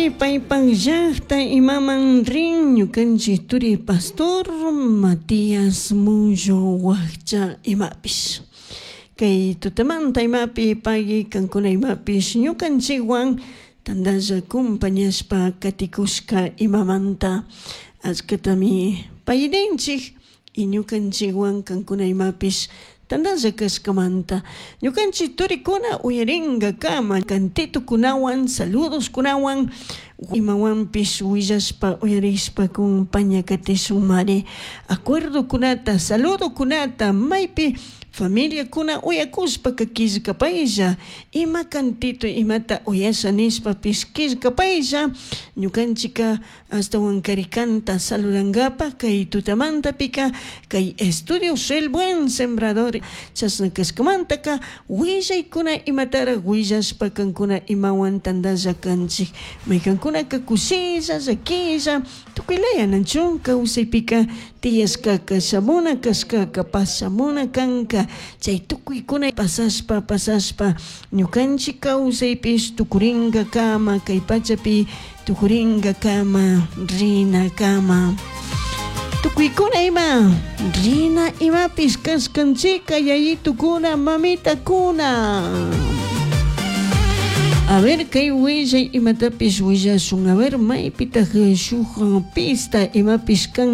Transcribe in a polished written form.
Chashnami paypak llakta imaman rin ñukanchik turi pastor Matías Mullo wakcha imapish. Kay tutamanta imapi pagui kankuna imapish ñukanchikwan tantalla compañashpa katikushka imamanta achkatami payrinchik y ñukanchikwan kankuna imapish tantalla kashkamanta ñukanchik turikuna uyarinkakama cantitukunawan saludoskunawan imawanpish willashpa uyarishpa compañakatishunmari acuerdokunata saludokunata maypi familiakuna uyakushpaka killkapaylla ima cantito imata uyasha nishpapish killkapaylla ñukanchika ashtawankari kanta saludankapak kay tutamantapika kay estudios El Buen Sembrador chashna kashkamantaka willaykuna imatarak willashpa kankuna imawan tantalla kanchik maykankunaka kushilla llaquilla tukuylaya nachu kawsaypika tiyashkaka shamuna kashkaka pashamuna kanka chay tukuykuna pasashpa pasashpa ñukanchik kawsaypish tukurinkakama kay pachapi tukurinkakama rinakama. Tukuykuna ima rina imapish kashkanchika yayitukuna mamitakuna. A ver kay willay imatapish willashun a ver maypitak shuk pista imapish kan.